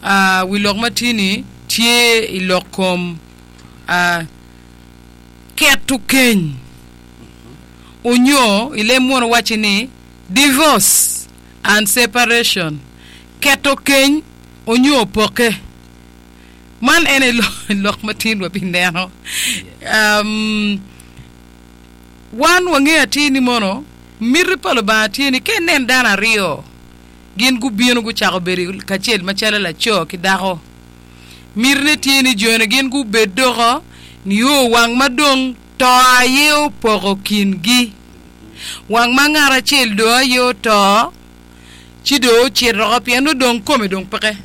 Wi lok ma tye-ni tye i lok kom keto keny onyo i leb munu wacci ni divorce and separation, keto keny onyo pokke. Man en aye lok ma tin wabineno. Wan wangeyo atir ni mono miti pa Lubanga tye ni ka inen dano aryo gin gubino gucako bedo kacel macalo laco ki dako. Mitine tye ni joni gin gubed doko nio wang ma dong to aye opoko kingi. Wang ma ngat acel dong aye oto, ci dong ocito oko pien nongo dong kome dong peke.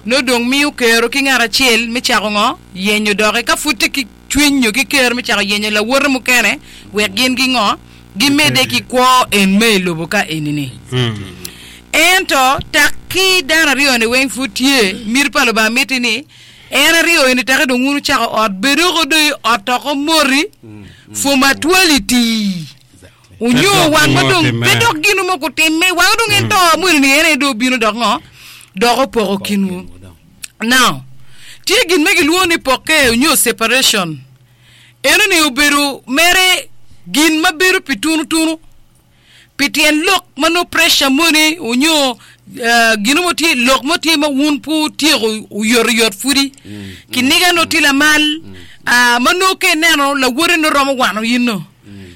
Nongo dong miyo kero ki ngat acel me cako ngo? Yenyo doki. Ka pud tye ki cwiny nyo ki kero me cako yenyo lawote mukene wek gin gingo? Gimedde ki kwo en me i lobo ka eni-ni. Ento tak ki dano aryo-ni weng pud tye, miti pa Lubanga mitti ni en aryo eni take dong wun wucako ot, bed oko dong i ot oko moti for matwality onyo wang ma dong pe dok gin mo kutimme wang dong en to mweni ni en aye dong obino dok ngo dok opoko kinwu. Now, tye gin ma gilwongo ni pokke onyo separation. Enoni obedo mere gin ma bedo pi tunu tunu pi tyen lok ma nongo pressure moni onyo gino mo tye lok mo tye ma wun pe wutyeko oyotoyot pudi kiniga nongo tye lamal ma nongo ka ineno lawote nongo romo wano in no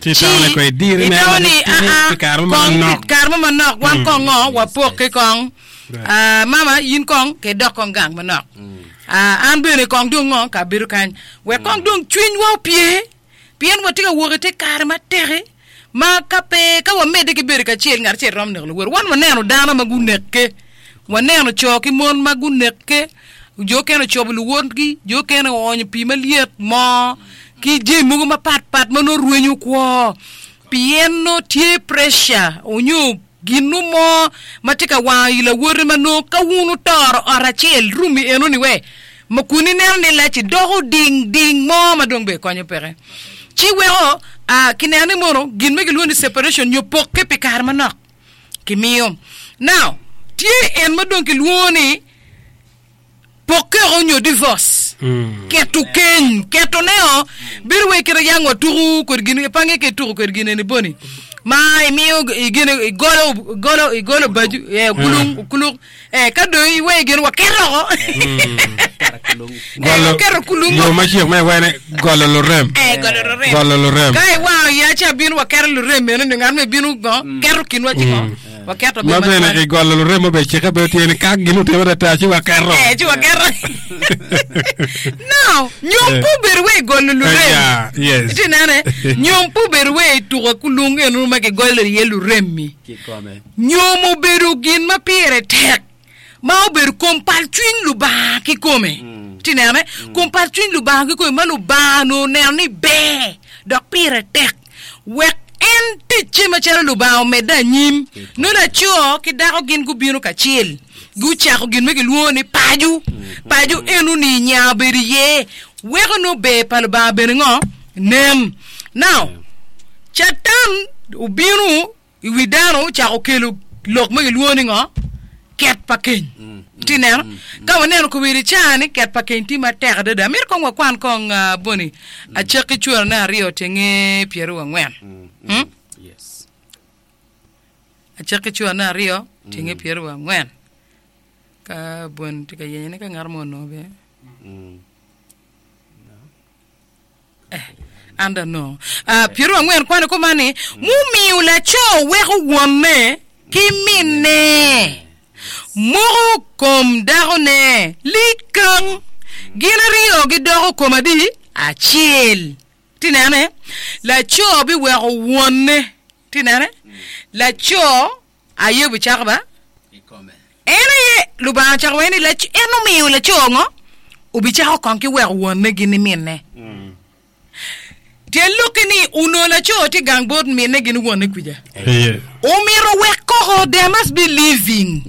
Ci itamo ni kong idiri mere itamo ni matitidi aa pi kare mo kong pi manok. kare mo manok wan kong ngo wapokke kong Ah, mama in kong ke dok kong gang manok Ah, an bene kong dong ngo ka abedo kany wek kong dong cwinywa opye pien watye ka wok i te kare matek-ki ma ka pe ka wamedde ki bedo kacel ngat acel romo neko lawote. Wan waneno dano ma gunekke, waneno co ki mon ma gunekke, jo okene ocobo luwotgi, jo okene oonyo pii malyet, moo ki jami mogo mapatpat ma nongo rwenyo kwo pien nongo tye pressure onyo Gin-nu mo ma tye ka wango i lawote ma nongo ka wun wutoro ot acel, room-mi enoni we, ma kun ineno ni lac-ci doko ding ding mo ma dong bene konyo peke. Ci weko a kineno ni mono gin ma gilwongo ni separation nyo pokke pi kare manok kimiyo. Now, tye en ma dong kilwongo ni Pokkeo nyo divorce, keto keny, keto ne o bedo wai kite yang watuku kod gin ipange ke tuku kod gin eni boni ma imiyo igine igolo igolo igolo baju eh okulung okulung eh ka dong iwe gin waketo oko eh waketo kulung Yo ma cik me wene golo lurem. eh golo lurem Golo lurem. ka iwango ya ci abino waketo lurem meno ni ngat me bino go keto kinwa ci go Waketo Ma bene bene matwal. i golo lurem obe cikke bene tye ni ka gin otime ata ci waketo. Eh, ci waketo. Now, nyom Eh. pe obedo wa i golo lurem. Yeah, yes. Iti nene, nyom pe obedo wa i tuko kulung eno ma gigolo iye lurem-mi. Kikome. Nyom obedo gin ma pire tek ma obedo kom pal cwiny Lubanga kikome. Iti nene, kom pal cwiny Lubanga kikome ma Lubanga onongo oneno ni ber dok pire tek. Wek en ticce macalo Lubanga omedde anyim, nongo laco ki dako gin gubino kacel, gucako gin ma gilwongo ni paco. Paco eno-ni nya obedo iye, weko nongo ber pa Lubanga bene ngo? Nen. Now, Catan obino I wi dano ocako kelo lok ma gilwongo ni ngo? Ket pa keny. Itye neno? Ka waneno kowiri i caa ni ket pa keny tye matek adada. Amito kong wakwan kong ah, Boni acakki cwerone aryo tyenge pyeraryo angwen. Hmm? Yes. Acakki cwerone aryo tyenge pyeraryo angwen. Ka Boni tye ka yenyone ka ngat mo onongo bene. An dong anongo. Ah, Pyeraryo angwen kwano kuman ni, Mumiyo laco weko wonne ki minne, moko kom dakone likang, gin aryo gidoko kom adi? Acel. Ti nene? Laco biweko wonne. Ti nene? Laco Aye obicako ba? En aye Lubanga ocako wene ni en omiyo laco ngo? Obicako kong ki weko wonne gin ni minne. Tyen lokke ni onongo laco tye gang bot minne gin wonne kwija. Omito wek koko, there must be living.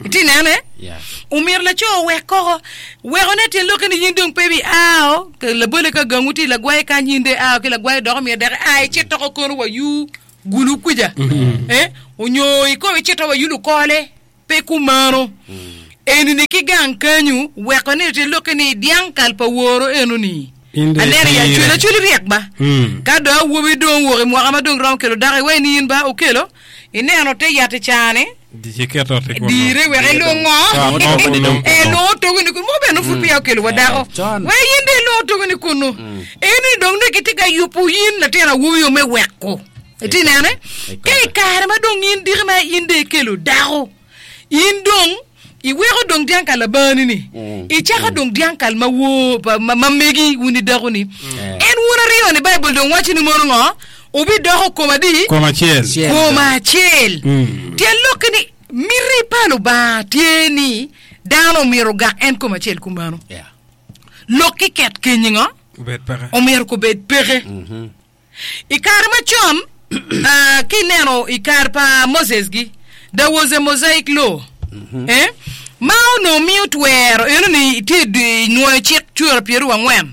Itye nene? Omito laco owek koko. Weko ne tyen lokke ni in dong pe bi ao, labole ka gangwu tye i lagwaye kany in dong iao ki lagwaye dok omiyo dek ia icit toko kono wa yu gulu kwija eh, onyo ikobo icito wa yulo kole pe kumano. Eni-ni ki gang kenyu weko ni tye lokke ni dyang kal pa woro eno-ni. In dong Aneno i itire. Acholi, Acholi ryek ba. Mm. Ka dong awobi dong owok i mwaka ma dong romo kelo dako iwaci ni in ba okelo, ineno te yat i caa-ni, Di iketo ot i kunu. dire wek ilungo. Ot mo kunu. Eh, lungo togo ni kunu. Mo bene pud peya okelo wa dako. Con. Wek in dong ilungo togo ni kunu. Eni dong ni kitye ka yubo in latin awobi o me weko. Itye nene? Ka i kare ma dong in diki ma in dong ikelo dako, In dong iweko dong dyang kal labani-ni, icako dong dyang kal ma woo pa ma ma megi wun i dakoni. En wun aryo-ni Baibul dong waco ni mono ngo? Wubidoko kom adi? Kom acel. Acel. Kom acel. Mm. Tyen lokke ni miti pa Lubanga tye ni dano omyero ogak en kom acel kumano. Yeah. Lok kiket kenyi ngo? Obed peke. Omyero kubed peke. I kare macon, ki ineno i kare pa Moses-gi, there was a Mosaic law, eh, ma onongo miyo twero eno ni itye i nwoyo cik cura pyeraryo angwen,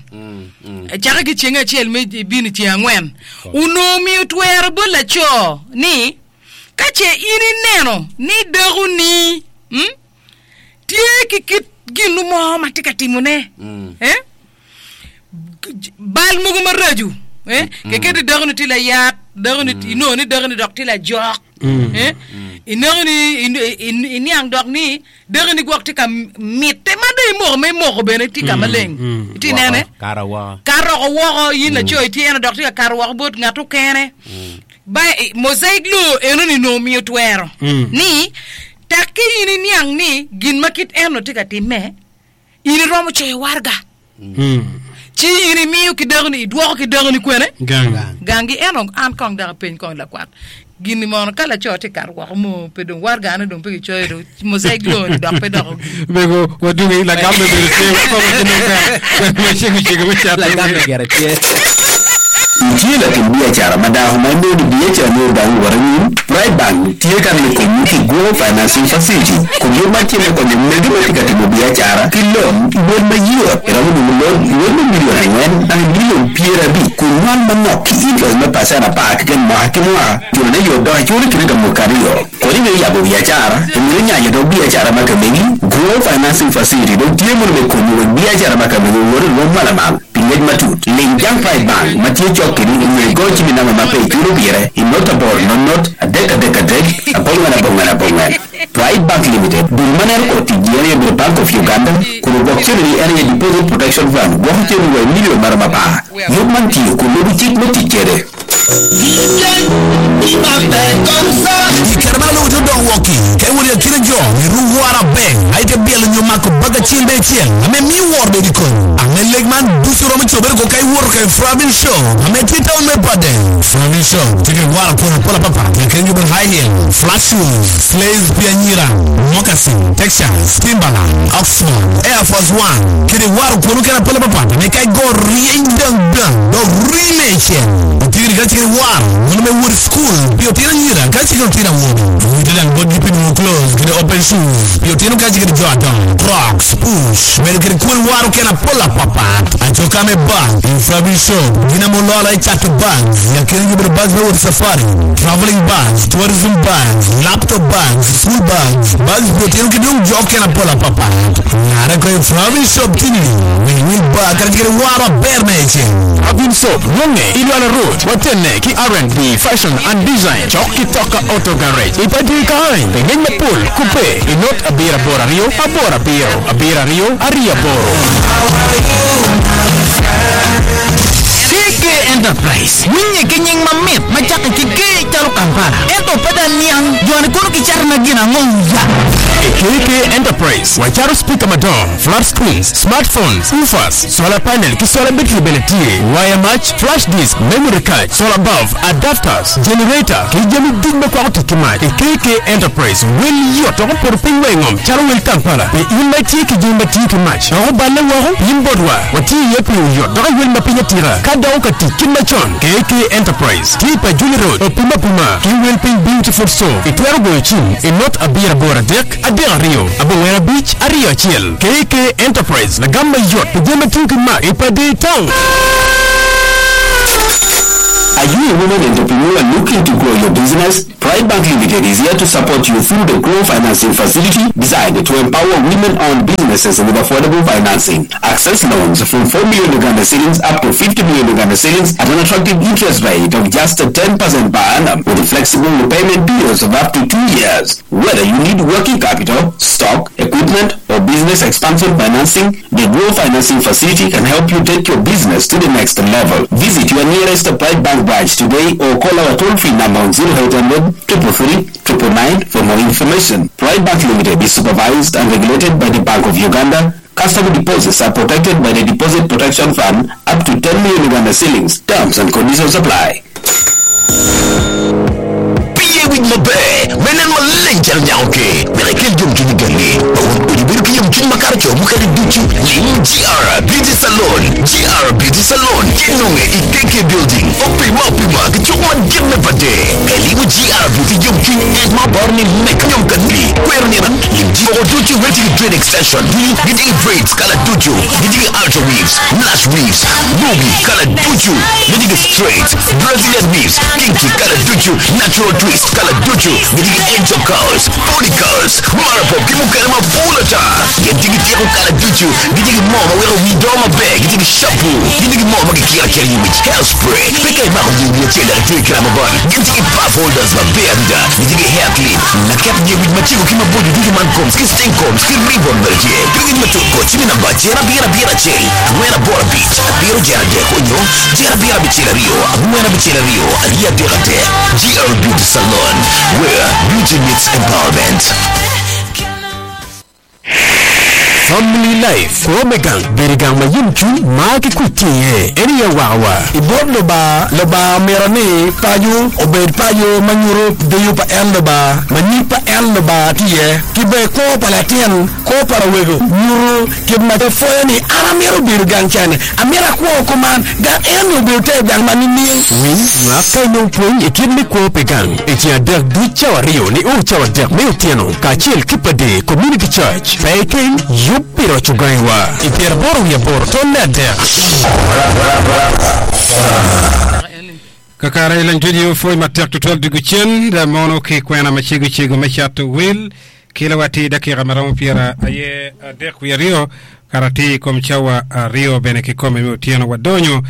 cakke ki ceng acel me bino i ceng angwen. Onongo miyo twero bot laco ni ka ce in ineno ni dakoni, mm, tye ki kit gin mo ma tye ka timone, eh, bal mogo maraco eh, kiketo dako ni tye layat, dako ni inongo ni dako ni dok tye lajok eh, inongo ni iniang dok ni dako ni gwok tye ka mitte ma dong imoko ma imoko bene tye ka maleng itye nene Kara woko. ka roko woko in laco itye eno dok tye ka kato woko bot ngat okene ba mosaic law eno ni nongo miyo twero ni tak ki in iniang ni gin ma kit eno tye ka timme In iromo coyo waraga ci in imiyo ki dakoni, idwoko ki dakoni kwene? Gang. Gangi. Ento an kong dok apeny kong lakwat, gin-ni mono ka laco tye kato woko mo pe dong waragane dong pe kicoyo dong mosaic law-ni dok pe dok ogik. Mego wadungi lagam me bedo tye wakobo ki nongo ka wacego cego me cato. Lagam me gire tye. Itye latim biacara ma dako ma inongo ni biacarani odange wot anyim? Pride Bank tye ka miyo konyi ki Grow Financing Facility kun yub man tye me konyo mege ma tye ka timo biacara ki lon i wel mayot. Iromo nongo lon i wel me milion angwen naka milion 50 kun nywal manok ki interest me pacen apar keken mwaka ki mwaka. Culone yot dok iculo i kine ka mwaka aryo. Kodi me yabo biacara, omyero inyanyo dog biacara ma ka megi. Grow Financing Facility dong tye mono me konyi wek biacara ma ka megi owot i rwom ma lamal. Pi ngec matut, ling jang Pride Bank ma tye cok kedi onyo igo cim i namba ma pe iculo pire i not aboro not not adek adek adek abongwen abongwen abongwen. Pride Bank Limited, dul ma neno kor ticgi en aye bedo Bank of Uganda, kun ogwok cente-ni en aye Deposit Protection Fund gwoko cente wa i million maromo apar. Yub man tiyo kun lubo cik me tic kede. I kare ma lubo te odok woko-ki, ka iwot i akina jo, iruk woro aber, ma ite byelo nyo mako bag acel me acel ame miyo woro bedo i komi. Ame lek man ducu romo cobere ko ka iwoto ka i Fravin Shop ame tye i taun me Pader. Fravin Shop tye ki woro apol apol apapat i akina gubedo high heel, flat shoes, slays pi anyira, moccasin, Texas, Timberland, Oxford, Air Force One, kede woro kwon mukene apol apapat ame ka igo ryeny dang dang dok rii me icel. Otigini ka cikiri war mono me wot i cukul pi otino anyira ka cikiri otino awobi. Owite dang botgi pi nongo clothes kede open shoes pi otino ka cikiri jo adongo, crocs, push, medo kede kwon war okene apol apapat. Acoka me bag i Fabi Shop gin ame ololo i cato bags i akine gi obedo bags me wot i safari, traveling bags, tourism bags, laptop bags, school bags, bags pi otino ki dong jo okene apol apapat. Ngare ko i Fabi Shop tini winy wil bag kadi kede waro aber me iceng. Abin Soap nonge i Lwala Road watenne ki R&B Fashion and Design cok ki Toka Auto Garage i Padiri Kaany. Pi ngec mapol kubbe i not abiro aboro aryo aboro abiro abiro aryo aryo aboro. KK Enterprise winye ki nying mamit ma cakke ki K calo Kampala ento pe dong niang joni kono gicato na gin ango ya. I KK Enterprise wacato speaker madongo, flat screens, smartphones, woofers, solar panel ki solar battery bene tye, waya mac, flash disk, memory card, solar bulb, adapters, generator, ki jami duc ma kwako tic ki mac. I KK Enterprise, wel yot dok opoto piny wa i ngom calo wel Kampala. Pi in ma itye ki jami ma tiyo ki mac dok oballe woko, pim botwa. Watiyo iye pi oyot dok i wel ma piny atika. Ka doko ka tic kit macon, KK Enterprise tye i Pajuli Road, opim apima ki wel piny Beautiful Store. Itwero goyo cim i not abiro aboro adek, adek aryo, abongwen abic, aryo acel. KK Enterprise, lagam mayot pi jami ma tiyo ki mac i Padee Town. Are you a woman entrepreneur looking to grow your business? Pride Bank Limited is here to support you through the Grow Financing Facility designed to empower women-owned businesses with affordable financing. Access loans from 4 million Uganda shillings up to 50 million Uganda shillings at an attractive interest rate of just 10% per annum with flexible repayment periods of up to 2 years. Whether you need working capital, stock, equipment, or business expansion financing, the Grow Financing Facility can help you take your business to the next level. Visit your nearest Pride Bank branch today or call our toll-free number on 0800 333 999 for more information. Pride Bank Limited is supervised and regulated by the Bank of Uganda. Customer deposits are protected by the Deposit Protection Fund up to 10 million Uganda shillings. Terms and conditions apply. Pi ye wic maber me nen maleng calo nyako ker, wek ikel yomcwiny i gangi ma wun odi bedo ki yomcwiny makato co mukene ducu. Lim GR Beauty Salon, GR Beauty Salon tye nonge i KK Building, opima opima ki cuk madit me Pade. Ka ilimo GR Beauty yomcwiny en ma oboro ni meka nyom kanili, kwero nino, lim ji moko ducu wek tye ki dread extension, gitye ki braids kala ducu, gitye ki ultra weaves, lash weaves, ruby kala ducu, gitye ki straight, Brazilian weaves, kinky kala ducu, natural twist kala ducu, gitye ki angel curls, pony curls, marapop ki mukene mapol ata. Gin tye ki tyeko kala ducu, gitye ki moo ma weko wii dongo maber, gitye ki shampoo, gitye ki moo ma kikiro akira i wic, hair spray, pe ka imako yer wii acel dok itweyo ki rubber band, gin tye ki puff holders maber adada, gitye ki hair clip, lakep yer wic macego ki maboco ducu man combs ki string combs ki ribbon bene tye. Pi ngec matut kor cim i namba 9 7 1 4 8 5 7 3 onyo 7 7 2 4 6 2 3 3. GR Beauty Salon, where beauty meets empowerment. Family Life, Kwo me gang bedo i gang ma yomcwiny, mar ki kuc tye iye. En aye awakawa. I bot Lubanga, Lubanga omito ni paco obed paco ma nyuto deyo pa en Lubanga, ma nyig pa en Lubanga tye iye, ki bene kwo pa latin, kwo pa lawego nyuto kit ma pwoyo ni an amito bedo gang cani, amito akwo kuman, gang eno-ni obedo te gang ma nining? Winy, nywak ka inong pwony i kit me kwo pi gang i ceng adek duc cawa aryo nio cawa adek me otyeno kacel ki Pade Community Church. Pe ikeng yub pi roco gangiwa i pyeraboro wiye aboro tonne adek. Kakare i leng tudio pwony matek tutwal dwogo cen da mono ki kwena macego cego me cato wil kelo wa atir dakika ma romo pyera aye adek wiye aryo kara atir i kom cawa aryo bene kikome me otyeno wadonyo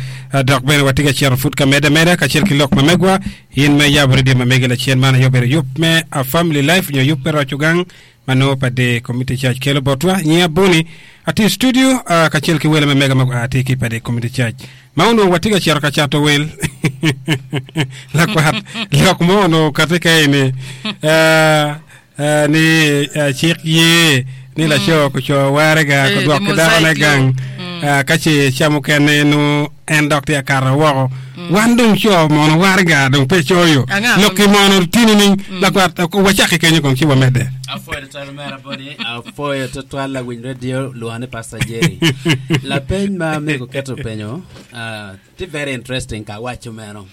dok bene watye ka cito pud ka medde ameda kacel ki lok ma megwa in me yabo redio ma megi lacen man aye obedo yub me A Family Life nyo yub me roco gang ma nongo pa The Community Church kelo botwa. Nyinga Boni, atye i studio kacel ki wele ma mega ma gua atir ki pa The Community Church. Ma onongo watye ka cito ka cato wel lakwat lok mo onongo okati ka eni ni cik ye ni laco kuco warega Eh, kudwok the ki dakone mosaic gang law. ka ce ca mukene nongo en dok tye akato woko. Wan dong co mono waraga dong pe coyo. Anga Lok ki mono tye nining? Lakwat, wacak ki kenyo kong ci wamedde. Apwoyo tutwal omera Boni, apwoyo tutwal lawiny radio lwonga ni Pastor Jerry. Lapeny ma mego keto penyo ah, tye very interesting ka awaco meno.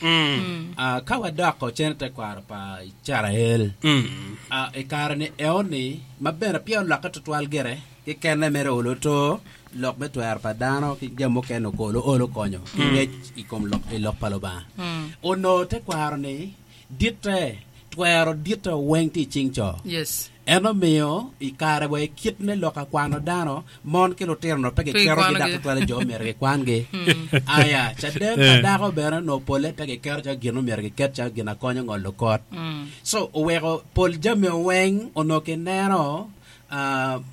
Ah, ka wadoko cen i tekwaro pa Icrael, ah, i kare-ni eoni ma bene peya olokke tutwal gire, Kikene mere olo to lok me twero pa dano ki jami mukene okolo olo konyo ki ngec i kom lok i lok pa Lubanga. Onongo tekwaro ni ditte, twero ditte weng tye i cing co. Yes. En omiyo i kare wa i kit me lok akwano dano, mon ki lutino onongo pe Pe giketogi dok gikwanogi. tutwale jo myero gikwangi. Aya, caden pa dako bene onongo pole pe giketo calo gin myero giket calo gin akonyo ngolo kot. So oweko pol jami weng onongo kineno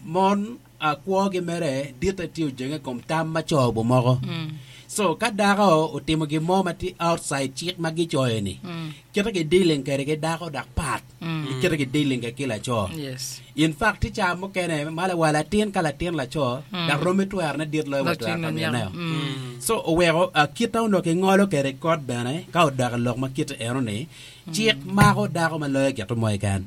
Mon kwogi mere ditte tye ojenge i kom tam ma co gumoko. So ka dako otimo gin mo ma tye outside cik ma gicoyo ni, kite ki dealing kwede ki dako dok pat ki kite ki dealing kwede ki laco. In fact tye ca mukene ma wa latin ka latin laco dok romi twerone dit loyo wa twero pa mineo. So oweko kite onongo kingolo kwede kot bene ka odok i lok ma kite eno ni cik mako dako ma loyo gito mo keken.